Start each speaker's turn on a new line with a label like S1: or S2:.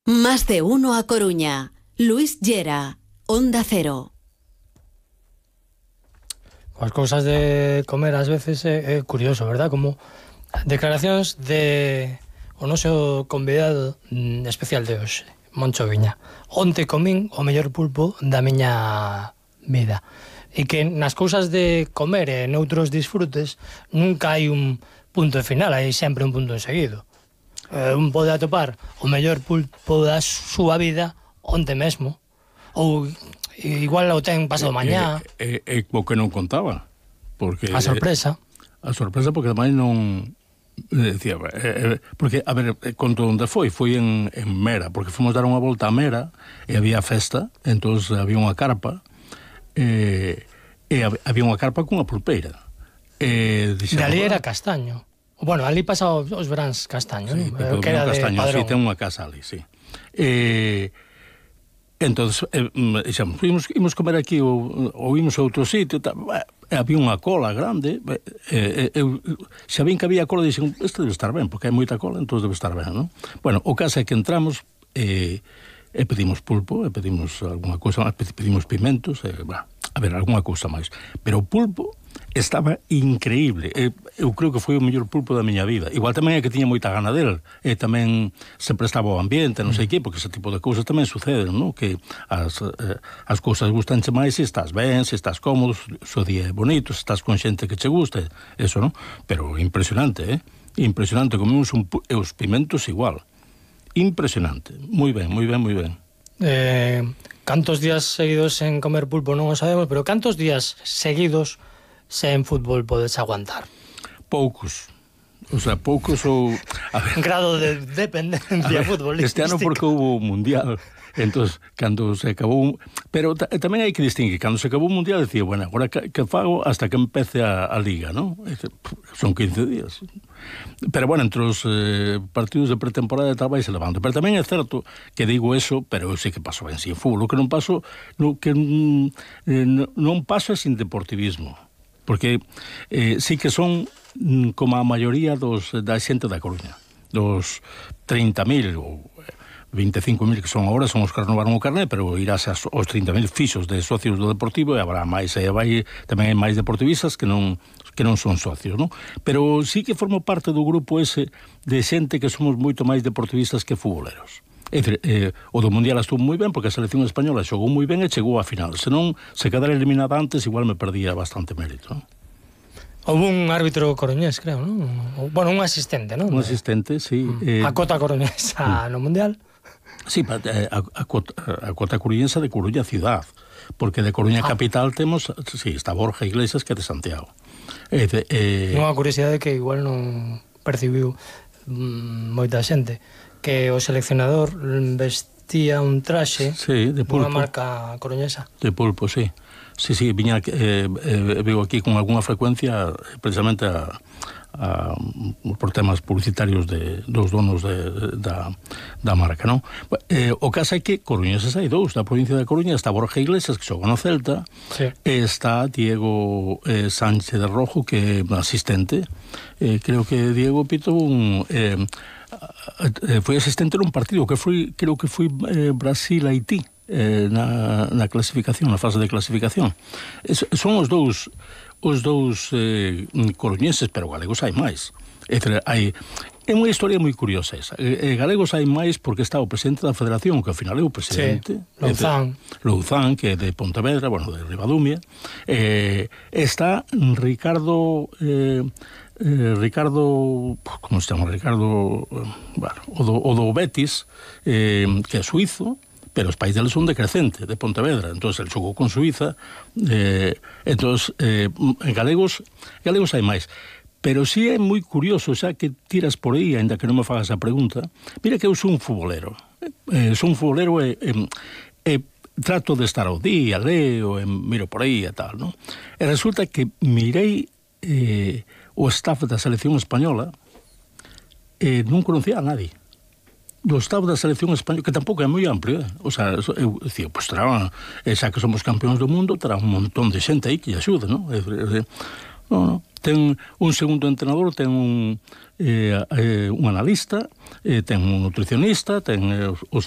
S1: Más de uno a Coruña. Luis Llera, Onda Cero.
S2: As cousas de comer ás veces é curioso, verdad? Como declaracións de o noso convidado especial de hoxe, Moncho Viña. Onte comín o mellor pulpo da miña vida. E que nas cousas de comer e noutros disfrutes nunca hai un punto final, hai sempre un punto seguido. Un pode atopar o mellor pulpo da súa vida onte mesmo, ou igual o ten pasado mañá.
S3: É o que non contaba, porque
S2: A sorpresa.
S3: A sorpresa porque ademais non decía, porque a ver, conto onde foi en Mera, porque fomos dar unha volta a Mera e había festa, entonces había unha carpa e había unha carpa cunha pulpeira.
S2: De ali era Castaño. Bueno, ali pasa os veráns Castaño,
S3: sí,
S2: non? Que era de
S3: Castaño,
S2: Padrón.
S3: Sí, ten unha casa ali, sí. Entonces, imos comer aquí ou imos a outro sitio, había unha cola grande, xa vin que había cola, dixen, isto debe estar ben, porque hai moita cola, entón debe estar ben, non? Bueno, o caso é que entramos e pedimos pulpo, e pedimos alguna cousa, pedimos pimentos, a ver, alguna cousa máis. Pero o pulpo estaba increíble. Eu creo que foi o mellor pulpo da miña vida. Igual tamén é que tiña moita gana del, e tamén se prestaba ao ambiente, non sei que, porque ese tipo de cousas tamén suceden, non? Que as cousas gustanche máis se estás ben, se estás cómodo, se o día é bonito, se estás con xente que che guste, eso, non? Pero impresionante, impresionante. Comemos os pimentos igual. Impresionante. Moi ben, moi ben, moi ben.
S2: Cantos días seguidos en comer pulpo non o sabemos, pero cantos días seguidos sen fútbol podes aguantar?
S3: Poucos. O sea, poucos ou...
S2: Grado de dependencia futbolística.
S3: Este ano porque houve o Mundial. Entón, cando se acabou... Pero tamén hai que distinguir. Cando se acabou o Mundial, decía, bueno, agora que fago hasta que empece a Liga, non? Son 15 días. Pero, bueno, entre os partidos de pretemporada tal vai se levando. Pero tamén é certo que digo eso, pero eu sei que paso ben sin fútbol. O que non paso... que non paso é sin deportivismo. Porque sí que son como a maioría da xente da Coruña, dos 30.000 ou 25.000 que son agora, son os que renovaron o carné, pero irás aos 30.000 fixos de socios do Deportivo, e habrá máis, tamén hai máis deportivistas que non son socios, non? Pero sí que formo parte do grupo ese de xente que somos moito máis deportivistas que futboleros. É dicir, o do Mundial estuvo moi ben porque a selección española xogou moi ben e chegou á final. Se non, se quedara eliminada antes, igual me perdía bastante mérito, non?
S2: Houve un árbitro coruñés, creo, non? Bueno, un asistente, non?
S3: Un asistente, sí.
S2: A cota coruñesa no Mundial.
S3: Sí, a cota coruñesa de Coruña ciudad, porque de Coruña capital temos, sí, está Borja Iglesias, que é de Santiago.
S2: Unha curiosidade que igual non percibiu moita xente, que o seleccionador vestía un traxe,
S3: sí, de pulpo,
S2: unha marca coruñesa.
S3: De pulpo, sí. Sí, viña, veo aquí con alguna frecuencia precisamente por temas publicitarios dos donos da marca, non? O caso é que coruñeses hai dous, da provincia da Coruña está Borja Iglesias, que xoga no Celta, sí. E está Diego Sánchez de Rojo, que é asistente, creo que Diego Pito foi asistente nun partido que creo que foi Brasil-Haití, na clasificación, na fase de clasificación. Son os dous coruñeses, pero galegos hai máis. É unha historia moi curiosa esa. Galegos hai máis porque está o presidente da Federación, que ao final é o presidente, Louzán, que é de Pontevedra, bueno, de Ribadumia. Está Ricardo, como se chama? Ricardo, bueno, o do Betis, que é suizo, pero os pais deles son de Crecente, de Pontevedra. Entón, el xogou con Suiza. Galegos hai máis. Pero si é moi curioso, xa que tiras por aí, ainda que non me fagas a pregunta, mira que eu son un futbolero. Son un futbolero e trato de estar ao día, leo, miro por aí e tal, non? E resulta que mirei o staff da selección española e non conocía a nadie. Do staff da selección española, que tampouco é moi amplio, o sea, eu dicía, pois terá, xa que somos campeóns do mundo, terá un montón de xente aí que lle axude, non? Non, ten un segundo entrenador, ten un analista, ten un nutricionista, ten os